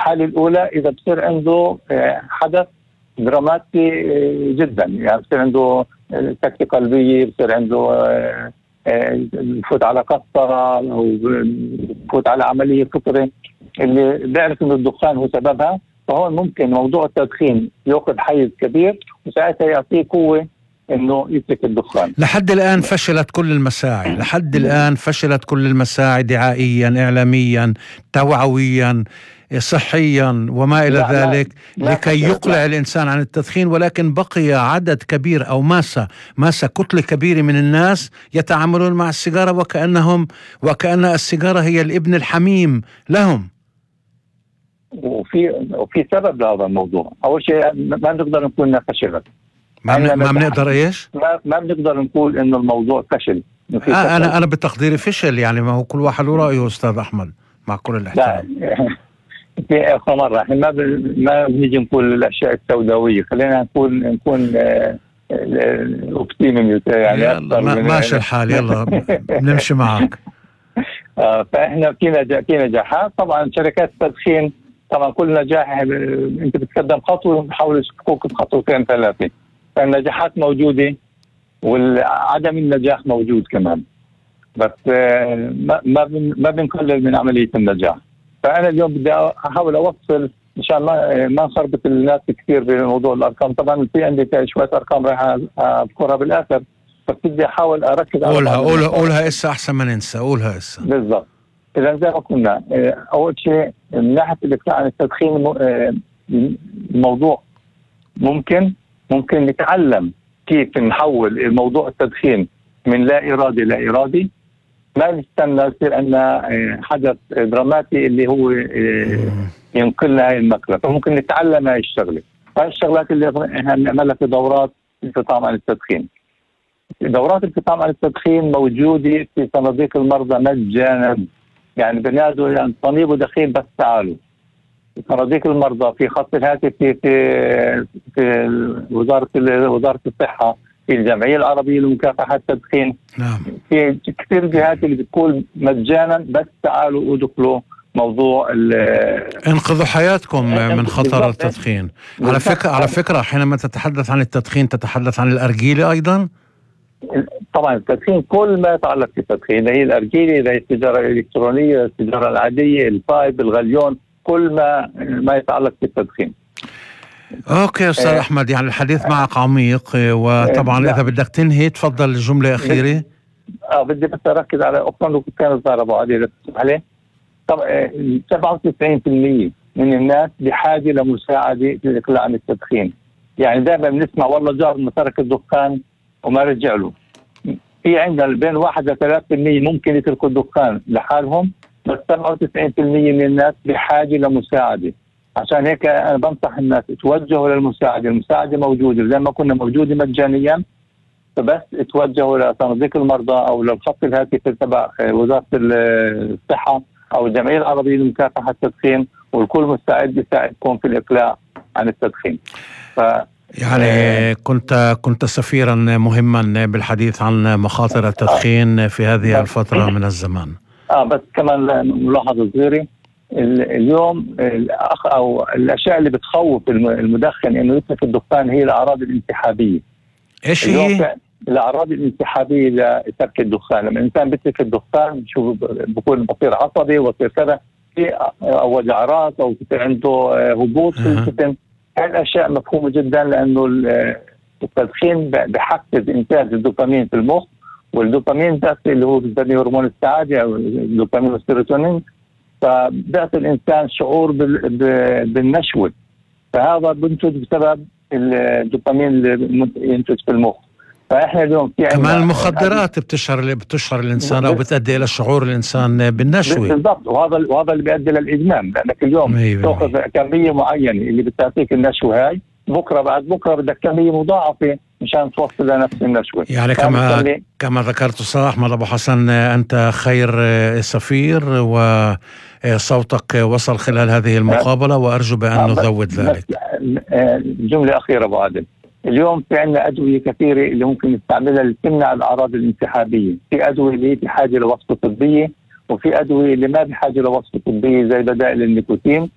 الحالة الأولى إذا بصير عنده حدث دراماتي جدا، يعني بصير عنده سكتة قلبية، بصير عنده بفوت على قسطرة أو بفوت على عملية فطري اللي بيعرف إنه الدخان هو سببها، فهون ممكن موضوع التدخين يأخذ حيز كبير وساعتها يعطيه قوة إنه يترك الدخان. لحد الآن فشلت كل المساعي، لحد الآن فشلت كل المساعي دعائيا، إعلاميا، توعويا، صحيا وما إلى ذلك لكي يقلع الإنسان عن التدخين، ولكن بقي عدد كبير أو ماسة كتلة كبيرة من الناس يتعاملون مع السيجارة وكأن السيجارة هي الابن الحميم لهم. وفي سبب لهذا الموضوع. أول شيء ما نقدر نقول إنها فشلت. ما بنقدر إيش؟ ما بنقدر نقول إنه الموضوع فشل. أنا بتقديري فشل، يعني ما هو كل واحد له رأيه أستاذ أحمد مع كل الاحترام. في آخر مرة إحنا ما بنيجي نقول الأشياء السوداوية، خلينا نكون أوبتيميم يعني. ماشي الحال، يلا بنمشي معك. فإحنا في نجاحات طبعا. شركات التدخين طبعا كل نجاح أنت بتقدم خطوة وبتحاول تفوق بخطوتين ثلاثة، فالنجاحات موجودة وعدم النجاح موجود كمان، بس ما بنقلل من عملية النجاح. فأنا اليوم بدي أحاول أوصل إن شاء الله، ما نخربط الناس كثير بموضوع الأرقام. طبعا في عندي شوية أرقام راح أذكرها بالآخر، بس بدي أحاول أركز على قولها إسا أحسن ما ننسى. قولها إسا بالضبط. إذا زي ما قلنا، أول شيء من ناحية الإقلاع عن التدخين، الموضوع ممكن نتعلم كيف نحول الموضوع التدخين من لا إرادي لا إرادي. ما نستنى يصير عندنا حدث دراماتي اللي هو ينقلنا هاي المقلة، فممكن نتعلم هاي الشغلة. هاي الشغلات اللي احنا بنعملها في دورات انفطام عن التدخين. دورات الانفطام عن التدخين موجودة في صناديق المرضى مجانا، يعني بنادوا يعني طبيب ودخيل بس تعالوا. صناديق المرضى في خط الهاتف في وزارة الصحة، في الجمعية العربية لمكافحة التدخين. نعم. في كثير جهات اللي بتقول مجانا بس تعالوا ادخلوا موضوع انقذوا حياتكم من خطر التدخين. على فكرة حينما تتحدث عن التدخين تتحدث عن الأرجيلة أيضا. طبعا التدخين كل ما يتعلق بالتدخين، هي الأرجيلة، هي السيجارة الإلكترونية، السيجارة العادية، البايب، الغليون، كل ما يتعلق بالتدخين. اوكي استاذ احمد، يعني الحديث معك عميق، وطبعا اذا بدك تنهي تفضل جمله اخيره. بدي بس اركز على اصلا كان صار ابو عادل عليه. طبعا 97% من الناس بحاجه لمساعده في الاقلاع عن التدخين. يعني دائما بنسمع والله جارنا ترك الدخان وما رجع له. في عندنا بين 1 ل 3% ممكن يتركوا الدخان لحالهم، بس 97% من الناس بحاجه لمساعده. عشان هيك أنا بنصح الناس توجهوا للمساعدة. المساعدة موجودة زي ما كنا موجودة مجانيا، فبس توجهوا لصناديق المرضى أو للخط الهاتفي تبع وزارة الصحة أو الجمعية العربية لمكافحة التدخين، والكل مستعد يساعدكم في الإقلاع عن التدخين. يعني كنت سفيرا مهما بالحديث عن مخاطر التدخين في هذه الفترة من الزمان. بس كمان ملاحظة صغيرة، اليوم أو الأشياء اللي بتخوف المدخن إنه يترك الدخان هي الأعراض الانسحابية. إيش هي؟ الأعراض الانسحابية لترك الدخان. لما الإنسان بيترك الدخان بكون بصير عصبي وبصير كذا، في وجع راس أو عنده هبوط في الجسم. هاي الأشياء مفهومة جدا، لأنه التدخين بحفز إنتاج الدوبامين في المخ، والدوبامين ده اللي هو بنسميه هرمون السعادة أو الدوبامين والسيروتونين، فبيعطي الإنسان شعور بالنشوة، فهذا بينتج بسبب الدوبامين اللي ينتج في المخ. فإحنا اليوم في كمان المخدرات بتشعر الإنسان أو بتؤدي إلى شعور الإنسان بالنشوة. بالضبط، وهذا اللي بيؤدي للإدمان، لأنك اليوم تأخذ كمية معينة اللي بتعطيك النشوة هاي، بكرة بعد بكرة بدك كمية مضاعفة مشان توصل لنفس النشوة. يعني كما ذكرت أستاذ أحمد أبو حسن، أنت خير سفير وصوتك وصل خلال هذه المقابلة، وأرجو بأن نزود ذلك. جملة أخيرة أبو عادل، اليوم في عندنا أدوية كثيرة اللي ممكن نستعملها لتمنع الأعراض الانسحابية. في أدوية اللي بحاجة لوصفة طبية، وفي أدوية اللي ما بحاجة لوصفة طبية زي بدائل النيكوتين.